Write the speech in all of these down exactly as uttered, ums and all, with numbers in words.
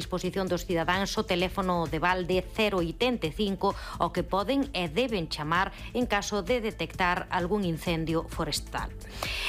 disposición dos cidadáns o teléfono de balde cero oitenta e cinco ao que poden e deben chamar en caso de detectar algún incendio forestal.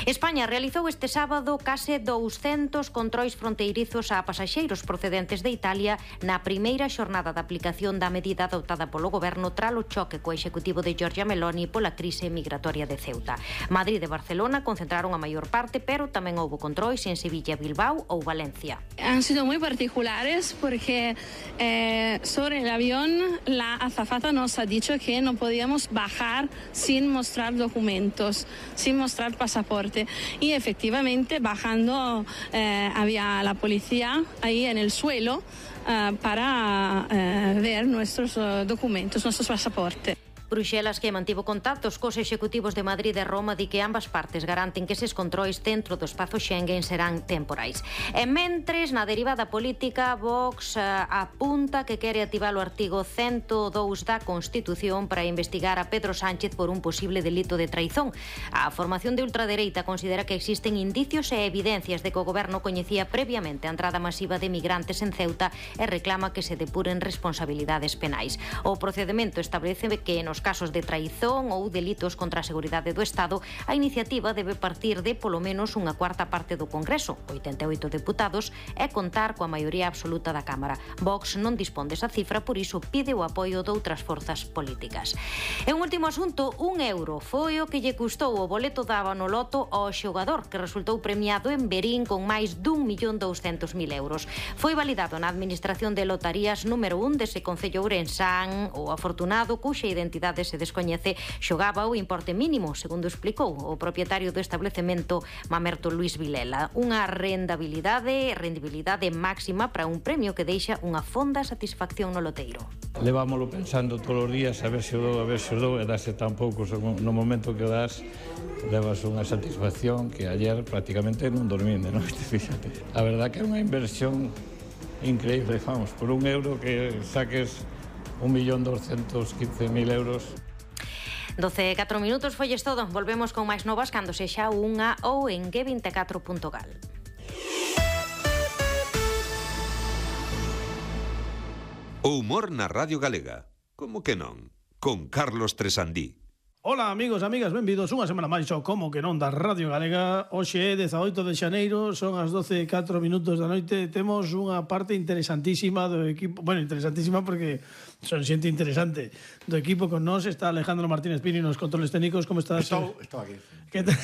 España realizou este sábado case douscentos controis fronteirizos a pasaxeiros procedentes de Italia na primeira xornada de aplicación da medida adoptada polo goberno tras o choque co executivo de Giorgia Meloni pola crise migratoria de Ceuta. Madrid e Barcelona concentraron a maior parte, pero tamén houbo controis en Sevilla, Bilbao ou Valencia. Han sido muy particulares porque eh, sobre el avión la azafata nos ha dicho que no podíamos bajar sin mostrar documentos, sin mostrar pasaporte. Y efectivamente bajando eh, había la policía ahí en el suelo eh, para eh, ver nuestros uh, documentos, nuestros pasaportes. Bruxelas, que mantivo contactos cos executivos de Madrid e Roma, di que ambas partes garanten que eses controis dentro do espazo Schengen serán temporais. E mentres, na derivada política, Vox uh, apunta que quere activar o artigo ciento dous da Constitución para investigar a Pedro Sánchez por un posible delito de traizón. A formación de ultradereita considera que existen indicios e evidencias de que o goberno coñecía previamente a entrada masiva de migrantes en Ceuta e reclama que se depuren responsabilidades penais. O procedemento establece que nos casos de traizón ou delitos contra a seguridade do Estado, a iniciativa debe partir de polo menos unha cuarta parte do Congreso, oitenta e oito deputados, e contar coa maioría absoluta da Cámara. Vox non dispón desa cifra, por iso pide o apoio de outras forzas políticas. E un último asunto, un euro foi o que lle custou o boleto da Banoloto ao xogador, que resultou premiado en Verín con máis dun millón douscentos mil euros. Foi validado na Administración de Lotarías número un dese Concello Ourensán. O afortunado, cuxa identidade se descoñece, xogaba o importe mínimo, segundo explicou o propietario do establecemento, Mamerto Luis Vilela. Unha rendabilidade, rendibilidade máxima para un premio que deixa unha fonda satisfacción no loteiro. Levámoslo pensando todos os días a ver se o dou, a ver se o dou, e dase tan pouco no momento que o das, levas unha satisfacción que ayer prácticamente non dorminde, non? Fíxate. A verdad que é unha inversión increíble, vamos, por un euro que saques un millón doscientos quince mil euros. doce e catro minutos, folles todo. Volvemos con máis novas cando sexa unha ou en G veinticuatro punto gal. O humor na Radio Galega. Como que non? Con Carlos Tresandí. Ola, amigos, amigas, benvidos unha semana máis ao Como que non da Radio Galega. Hoxe é dezaoito de xaneiro, son as doce e catro minutos da noite. Temos unha parte interesantísima do equipo. Bueno, interesantísima porque son xente interesante do equipo. Con nós está Alejandro Martínez Pini nos controles técnicos. Como estás? Estou, estou aquí. Que tal?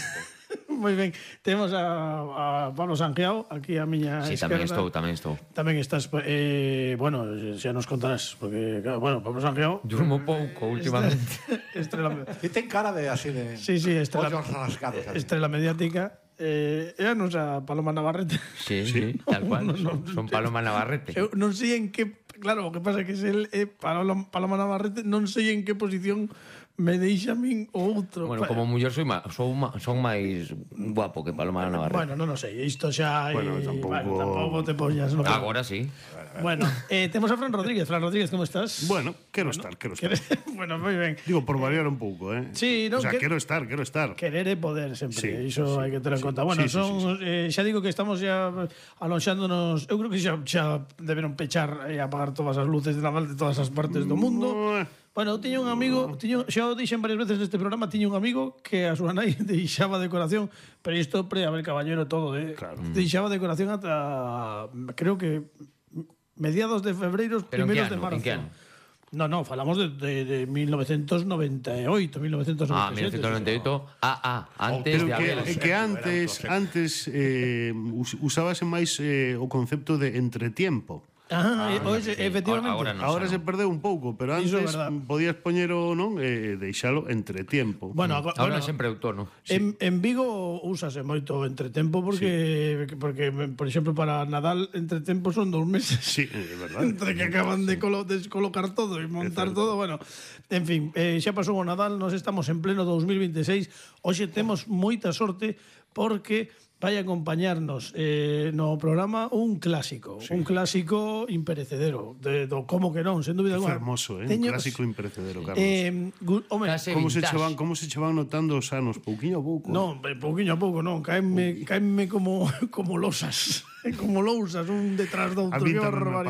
Moi ben. Temos a, a Pablo Sanjeao aquí a miña sí, esquerda. tamén estou, tamén estou. Tamén estás, eh, bueno, xa nos contarás, porque, bueno, Pablo Sanjeao... Durmo pouco últimamente. Estrela... E ten cara de así de... Sí, sí, estrela, ollos rascados. Así. Estrela mediática. Eh, era non xa Paloma Navarrete. Sí, sí, tal cual. No, no, son, son Paloma Navarrete. Eu non sei en que... Claro, o que pasa é que se el é Paloma, Paloma Navarrete, non sei en que posición me deixa a min o outro. Bueno, como muller soy ma, son, ma, son máis guapo que Paloma Navarrete. Bueno, non o sei, isto xa... Bueno, tampouco... Bueno, tampouco te poñas... No, agora sí. Bueno, eh, temos a Fran Rodríguez. Fran Rodríguez, como estás? Bueno, quero bueno, estar, quero estar. Bueno, moi ben. Digo, por variar un pouco, eh? Sí, no, o sea, que... quero estar, quero estar. Querer é poder, sempre. Sí, Iso sí, hai que ter en sí, conta. Bueno, sí, son, sí, sí, sí. Eh, xa digo que estamos xa alonxándonos... Eu creo que xa, xa deberon pechar e apagar todas as luces de Naval de todas as partes do mundo. Bueno, tiña un amigo, tiño, xa o dixen varias veces neste programa, tiña un amigo que a súa nai deixaba decoración, pero isto pre haber caballero todo, eh? Claro. Deixaba decoración ata, creo que mediados de febreiro, primeiros de marzo. En que ano? No, no, falamos de, de, de mil novecientos noventa e oito, mil novecientos noventa e sete. Ah, mil novecientos noventa e oito. Ah, ah, antes Pero de que, haber... é que antes, antes eh, usábase máis eh, o concepto de entretiempo. Ah, Ah, oxe, sí. efectivamente. Ahora no. Agora se perdeu un pouco, pero antes Iso é verdad. podías poñero, non, eh, deixalo entre tiempo. Bueno, agora, Ahora bueno, sempre outono. en, en Vigo úsase moito entretempo porque, sí. porque, por exemplo, para Nadal entretempo son dos meses. Sí, é verdade. Entre que acaban de colo, descolocar todo e montar todo, bueno, en fin, eh, xa pasou o Nadal, nos estamos en pleno dos mil veintiséis. Hoxe temos moita sorte porque vai acompañarnos eh, no programa un clásico, sí. un clásico imperecedero, de, do como que non, sen dúbida alguna. Fermoso, eh? Teño, un clásico imperecedero, Carlos. Eh, gu, home, como se chevan, como se chevan notando os anos, pouquiño a pouco. Non, pouquiño a pouco, non, caenme, caenme como como losas, como lousas, un detrás do outro, que barbaridade.